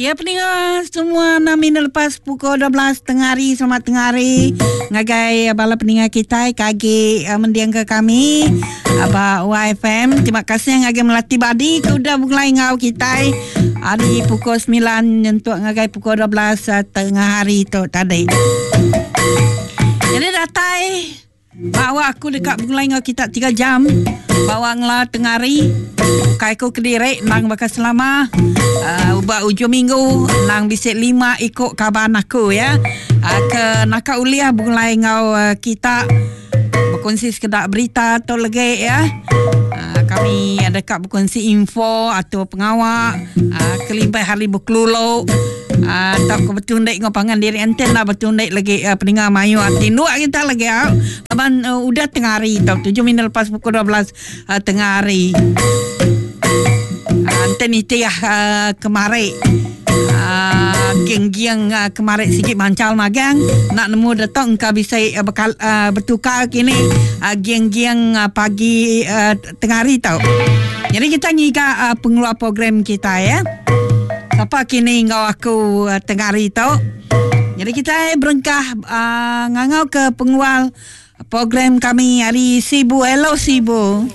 Ya peninga semua enam minit lepas pukul 12 tengah hari selamat tengah hari ngagai bala peninga kitai ke agi uh, mending ke kami ba YFM terima kasih ngagai Melati Badi ke udah begulai enggau kitai hari pukul 9 nyentuk ngagai pukul 12 uh, tengah hari tu tadi. Jadi datai Bawa aku deka begulai enggau kita tiga jam. Bawa ngela tengah hari. Ukai aku kediri endang baka selama. Uh, ba ujung minggu endang bisi lima iku kaban aku ya. Uh, ke naka ulih begulai enggau uh, kita berkongsi sekeda berita tu legi ya. Uh, kami deka berkongsi info atau pengawa uh, kelimpah hari bekelulu. Ah, tau ke betundik enggau pangan diri enti enda betundik lagi uh, peninga mayuh ati nduk kita lagi au. Laban uh, udah tengah hari tau 7 minit lepas pukul 12 uh, tengah hari. Uh, enti nitih uh, kemari uh, geng-geng uh, kemari sigi mancal magang nak nemu datuk engka bisi uh, bekal, uh, bertukar kini uh, geng-geng uh, pagi uh, tengah hari tau. Jadi kita ngiga uh, pengeluar program kita ya. Sapa kini enggau aku uh, tengah hari tu. Jadi kita berengkah uh, ngangau ke pengeluar program kami hari Sibu. Hello Sibu.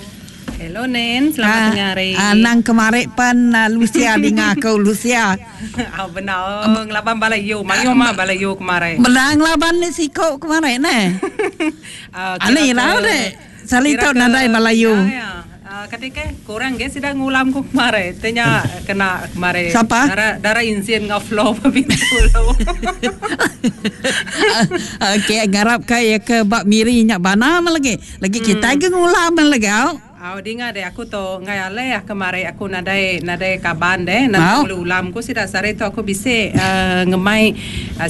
Hello Nen, selamat uh, tengah hari. Uh, nang kemarin pan uh, Lucia dengar aku Lucia. Oh, benar ngelaban balai yu, mayuh mah balai yu kemarin. Benar ngelaban ni siko kemarin ne. Uh, Ani lah dek. Sali tu nadai Melayu. Ya, ya. Kati ke kurang ge sida ngulam ku kemari. Te nya kena kemari. Sapa? Dara dara insin enggau flow ba pintu lu. Okey ngarap ka iya ke ba Miri nya bana meh lagi. Lagi kitai ge ngulam meh lagi au. Au dinga deh aku tu enggai alai ah kemari aku nadai nadai kaban deh nadai ulih ulam ku sida sehari tu aku bisi uhh ngemai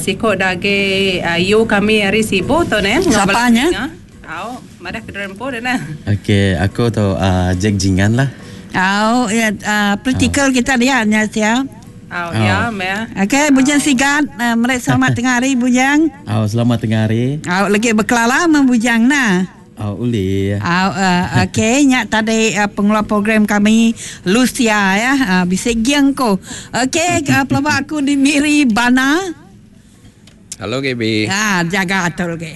siku da agi ayu kami ari Sibu tu neh enggau bala Sapa nya? dinga. Au, madah ke diri empu deh nah. Okey, aku tu uh, Jack Jingan lah. Au, ya uh, praktikal kita dia nya sia. Au, ya meh. Okey, Bujang Sigat, uh, meri selamat tengah hari Bujang. Au, selamat tengah hari. Au, lagi bekelala meh Bujang nah. Au, ulih. Au, uh, okey, nya tadi uh, pengeluar program kami Lucia ya, uh, bisi ging ko. Okey, uh, pelaba aku di Miri Bana. Halo GB. Ah, jaga atur ke.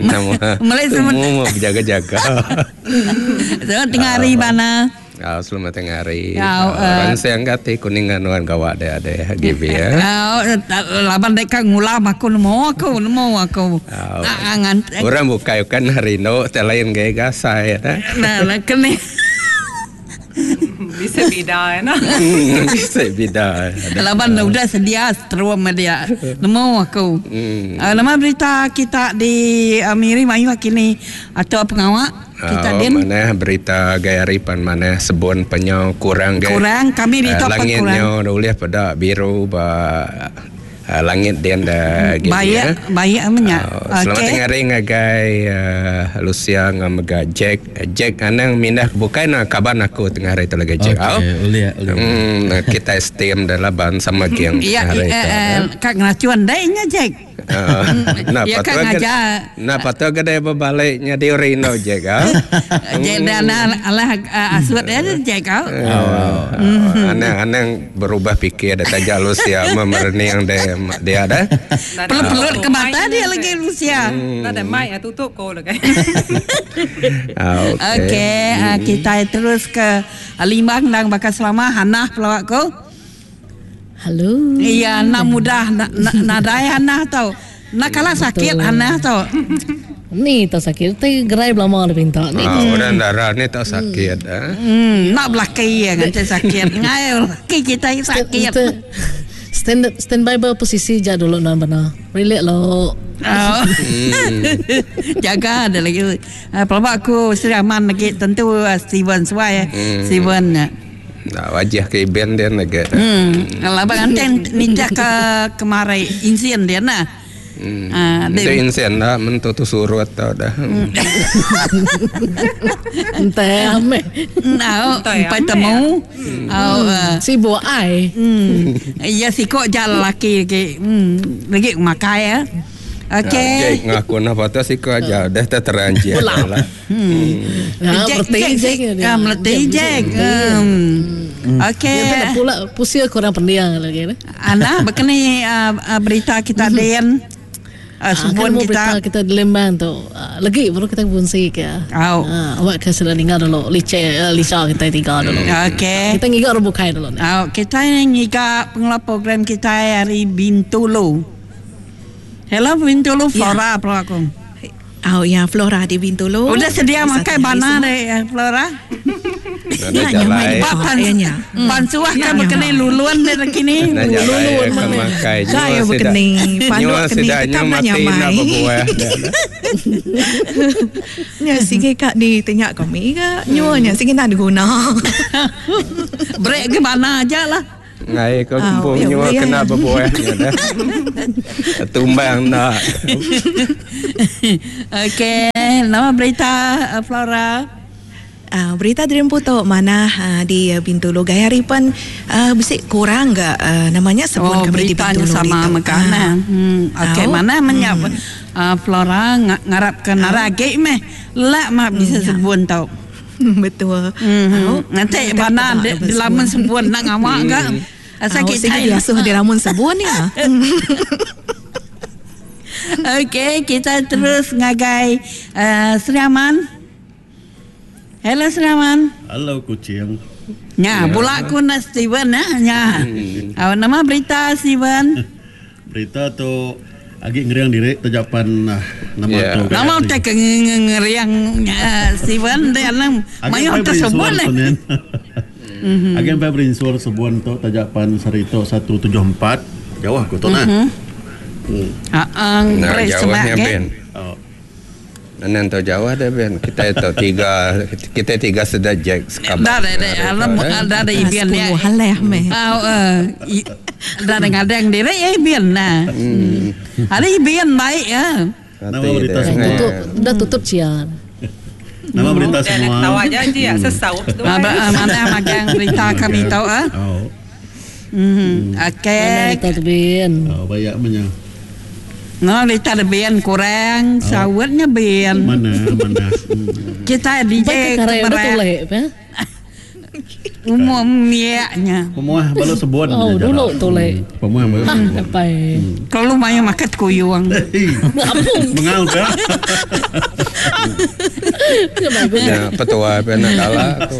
Nama. Mulai Tumu mau berjaga-jaga. Selamat tengah hari bana. Ah, selamat tengah hari. Ya, Orang siang kati kuning anuan gawa deh ada GB ya. Ah, laban dek ka ngulam aku nemu aku nemu aku. Ah, Orang bukai kan hari no lain gaya gasai ya. Nah, nah kene. Bisi bida ena. Bisi bida. Laban udah sedia seterum dia. Nemu aku. Hmm. Uh, nama berita kita di uh, Miri mayuh kini atau pengawa kita oh, din. Mana berita gaya hari pan mana sebun penyau kurang gaya. Kurang kami di uh, langit kurang. Ulih pada biru ba Uh, langit dian da gini baik, ya. Baik amenya. Uh, selamat okay. tengah hari ngagai uh, Lucia ngau mega Jack. Jack anang mindah ke bukai na kaban aku tengah hari tu lagi Jack. Okay, ulih ulih. Hmm, kita esteem dah laban sama geng Ya, hari eh, tu. eh, kak ngeracuan dai nya Jack. Uh, nah, Ya, patut kak ngajar. Nah, patut ke dia berbalik nya di Rino Jack. Ah. Jack dah nah alah asut dia Jack kau. Oh, anang-anang berubah fikir dah taja Lucia memerening dia dia dah. Pelut-pelut ke mata dia lagi Lucia. Nada mic ah tutup ko lagi. Ah, okey. Okey, uh, kita terus ke Limbang dan bakal selama Hanah pelawak ko. Halo. Iya, nak mudah na, na, nadai Hanah tau. Nak kalah sakit Hanah tau. Ni tak sakit, tapi gerai belama dia minta. Ni Ah, orang darah ni tak sakit ah. Nak belaki ya nganti sakit. Ngai laki kita sakit. Stand stand by berposisi je dulu nak benar. Relax lo. Oh. Jaga ada lagi. Uh, pelawak aku Sri Aman lagi tentu uh, Steven Suai. Hmm. Steven. Nah, wajah ke iben dia lagi. Kalau abang anten ninja ke kemarai insin dia nah. Ah, Itu insen dah mentu tu surut tau dah. Entah ame. Nah, empat temu. Oh, Sibuk ai. Ya siko jalan laki lagi. Lagi makai ya. Okey. Jack ngaku nah patut siku aja dah terang Jack lah. Ha, Jack, berarti Jack, Jack. Jack. Ah, meleti Jack. Okey. Dia tak pula pusia kurang pendiang lagi ne. Ana berkeni berita kita den. Sebut Sebut kita kita. kita di Lembang tu. Lagi baru kita fungsi ke. Au. Awak ke sudah dengar dulu lice lica kita tiga dulu. Okey. Kita ngiga rebukai dulu ne. Au, kita ngiga pengelola program kita hari Bintulu. Hello Bintulu Flora yeah. aku. Oh ya, Flora di Bintulu. Udah sedia Satu makan hari bana semua. deh Flora. Ada Ya, jalai. nyaman. Pak Ya, ya. pansuah kan berkena luluan deh kini. Nak jalai Luluan ke mana? makai. Saya berkeni, panduk Nyawa keni, sedaknya tetap nak mati nyamai. nak berbuah. dah. Ya, sige kak di tanya kami ke, nyuanya sige nak diguna. Break ke mana aja lah. Ngai kau Ah, kumpul ya, nyawa boleh, kena ya. berbuah. Ya, dah. Tumbang nak. Okey, nama berita Flora. Berita dari Putu mana di Bintulu gaya ripan bisik kurang gak namanya sebun Oh, kami di beritanya Bintulu sama itu. makanan. Okey, Au. mana menyap Flora ngarap ke narage meh. Lak mah bisa ya. sebun tau. Betul. Au. Nanti Kita mana tak di, ada di lamun sebun nak ngamak ke? Asal Au, kita sige diasuh di lamun sebun ya. Okey, kita terus ngagai Sri Aman. Hello Sri Aman. Halo kucing. Nya, pula aku nak Steven ya. Nya. Nama berita Steven. Berita tu agi ngeriang diri terjapan nama Ya. tu. Nama tak ke ngeriang Steven dia nang mayo tersebut eh. le. Agi sampai berinsur sebuan tu tajapan serito 174 jauh aku tu nah. Ha ang Nah, break jauhnya semak ke. Ben. Oh. Nan tahu jauh dah Ben. Kita itu tiga kita tiga sudah Jack sekabar. Dah dah dah alam dah dah ibian dia. 10 haleh meh. Ah dah dah ngadang diri ya ibian nah. Hari ibian baik ya. Nama berita semua. Tutup dah tutup cia. Nama berita Dia nak semua. ketawa aja je ya, sesaup tu. Mana magang berita kami tahu ah. Oh. Okey. Kita tu bin. Oh, banyak punya. No, berita bian kurang, sawitnya bian. Mana mana. Kita DJ Baik kare udah kemarin tulek ya. umum miaknya. Pemuah balu sebuan. Oh, je dulu jarak. tulek. Pemuah balu Ah, sebuan. sampai. Kalau lumayan makan kuyuang. Hei, Mengal ke? Ya, petua Ben nak kalah tu.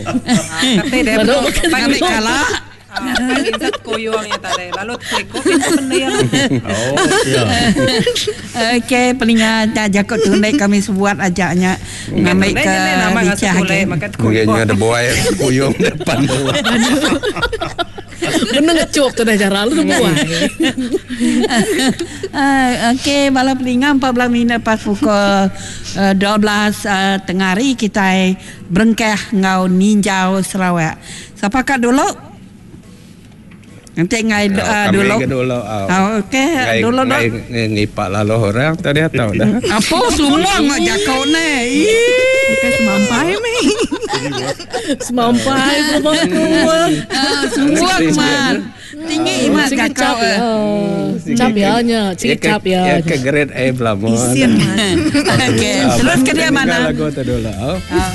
Tapi dia Baru betul. makan Pagi Ambil kalah. Pagi zat koyong ya tadi. Lalu klik itu benda Oh, ya. Okey, pelinga tak jakut tunai kami sebuat ajaknya ngambil ke nama licah ngasuh ke. makan Mungkin koyong. ada buaya kuyung depan tu. Bener ngecup tu dah cara lu tu buat. Okey, bala pelinga 14 minit pas pukul 12 tengah hari kita berengkah ngau ninjau Sarawak. Siapa kat dulu? Nanti ngai Kami dulu. ke dulu. Oh. Ah, okey, Ngai dulu dah. ngai ngipak lalu orang tadi tahu dah. Apa semua ngak jakau ni? Ih. Bukan semampai meh. Semampai pun aku. Semua man. Tinggi imat Sigi jakau. cap ya. Cap ya nya, sigi cap ya. Ya ke grade A belah. Isian mas. Okey, terus ke dia mana? Lagu tu dulu. Oh. Ah.